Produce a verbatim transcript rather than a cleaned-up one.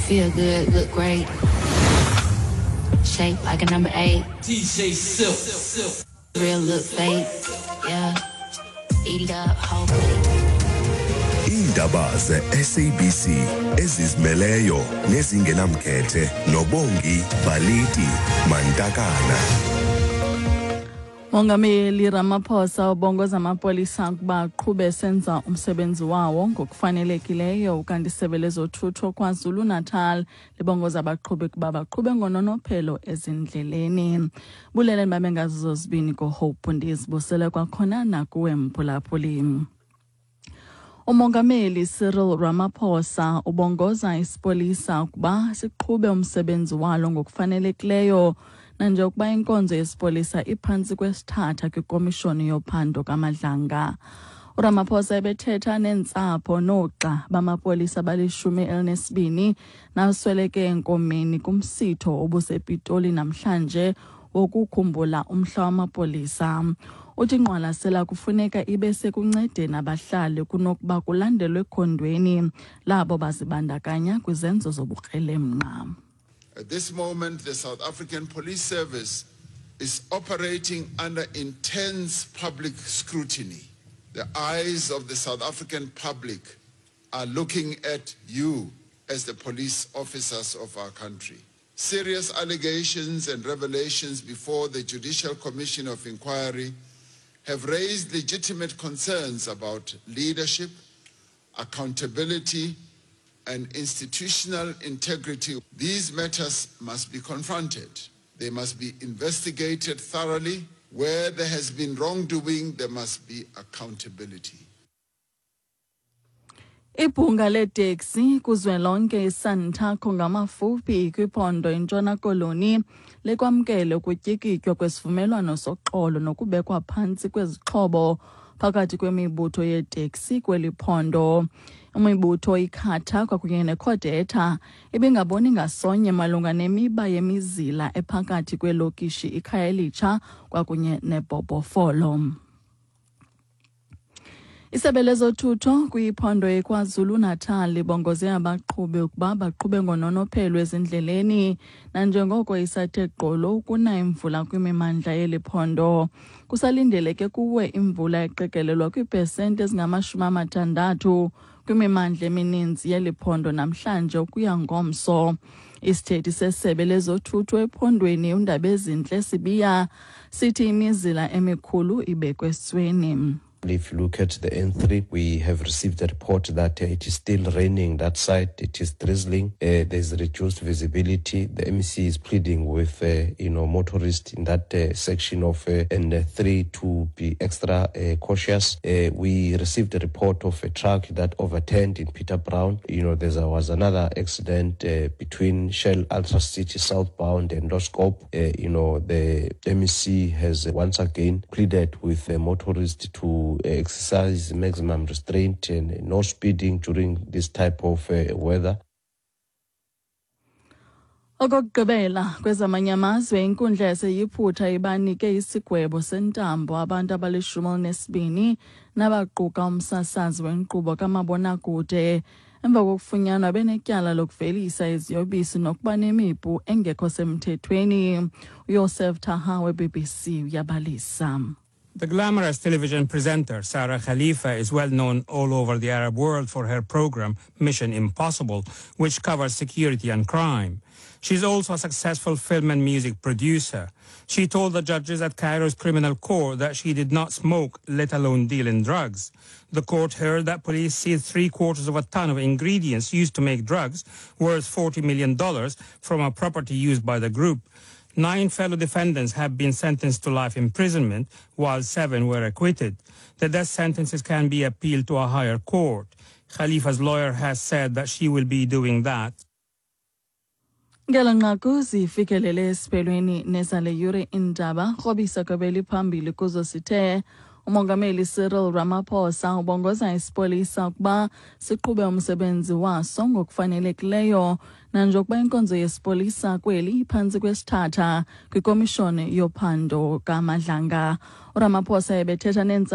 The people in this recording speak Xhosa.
Feel good, look great. Shape like a number eight. DJ Silk. Silk. Real look fake. Yeah. Eat it up, whole plate. Iindaba ze-SABC ezizimeleyo nezingenamkhethe noBongi Baliti Mantakana. Mongameli Ramaphosa ubongoza amapolisa ukuba aqhube senza umsebenzi wawo ngokufanelekileyo ukanti isebe lezothutho KwaZulu-Natal libongoza abaqhubi ukuba baqhube ngononophelo ezindleleni. Bulele babe ngazo zozibini koHope ndizibusele kwakhona nakuwe mphulaphuli. Umongameli Cyril Ramaphosa ubongoza isipolisa ukuba siqhube umsebenzi walo ngokufanelekileyo nanjengokuba inkonzo yesipolisa iphantsi kwesithatha kwikomishoni yophando kaMadlanga. uRamaphosa ebethetha neentsapho noogxa bamapolisa balishumi elinesibini nasweleke enkomeni kumsitho obusePitoli namhlanje wokukhumbula umhla wamapolisa. Uthi ingqwalasela kufuneka ibe sekuncedeni abahlali kunokuba kulandelwe ekhondweni labo bazibandakanya kwizenzo zobukrelemnqa. At this moment, the South African Police Service is operating under intense public scrutiny. The eyes of the South African public are looking at you as the police officers of our country. Serious allegations and revelations before the Judicial Commission of Inquiry have raised legitimate concerns about leadership, accountability, and institutional integrity. These matters must be confronted. They must be investigated thoroughly. Where there has been wrongdoing, there must be accountability. Ibhunga leeteksi kuzwelonke iSantaco ngamafuphi kwiphondo iNtshona Koloni likwamkele ukutyikitywa kwesivumelwano soxolo nokubekwa phantsi kwezixhobo phakathi kwemibutho yeeteksi kweli phondo. Imibutho iCATA kwakunye neCodeta ibingaboni ngasonye malunga nemiba yemizila ephakathi kwelokishi iKhayelitsha kwakunye neBhobhofolo. Isebe lezothutho kwiphondo iKwaZulu-Natal libongoze abaqhubi ukuba baqhube ngononophelo ezindleleni nanjengoko isathe gqolo ukuna imvula kwimimandla yeli phondo. Kusalindeleke kuwe imvula eqikelelwa kwiipesenti ezingamashumi amathandathu kwimimandla emininzi yeli phondo namhlanje ukuya ngomso. Isithethi sesebe lezothutho ephondweni uNdabezinhle Sibiya sithi imizila emikhulu ibekwe esweni. If you look at the N three, we have received a report that, uh, it is still raining that side. It is drizzling. Uh, there's reduced visibility. The M E C is pleading with, uh, you know, motorists in that, uh, section of, uh, N three to be extra, uh, cautious. Uh, we received a report of a truck that overturned in Peter Brown. You know, there was another accident, uh, between Shell Ultra City southbound and Loskop. Uh, you know, the M E C has once again pleaded with the motorists to exercise maximum restraint and no speeding during this type of, uh, weather. Okokugqibela kwezamanye amazwe, inkundla yaseYiphutha ibanike isigwebo sentambo abantu abalishumi elinesibini nabaquka umsasazi wenkqubo kamabonakude emva kokufunyanwa benetyala lokuvelisa iziyobisi nokuba nemipu engekho semthethweni. uYosef Taha we-B B C uyabalisa. The glamorous television presenter Sarah Khalifa is well known all over the Arab world for her program Mission Impossible, which covers security and crime. She's also a successful film and music producer. She told the judges at Cairo's criminal court that she did not smoke, let alone deal in drugs. The court heard that police seized three quarters of a ton of ingredients used to make drugs, worth forty million dollars, from a property used by the group. Nine fellow defendants have been sentenced to life imprisonment, while seven were acquitted. The death sentences can be appealed to a higher court. Khalifa's lawyer has said that she will be doing that. Ngelo nqaku zifikelele esiphelweni nezale yure iindaba. Krobisa kwebeli phambili kuzo sithe umongameli Cyril Ramaphosa ubongoza isipolisa ukuba siqhube umsebenzi waso ngokufanelekileyo nanjengokuba inkonzo yesipolisa kweli iphantsi kwesithatha kwikomishoni yophando kaMadlanga. uRamaphosa ebethetha neentsapho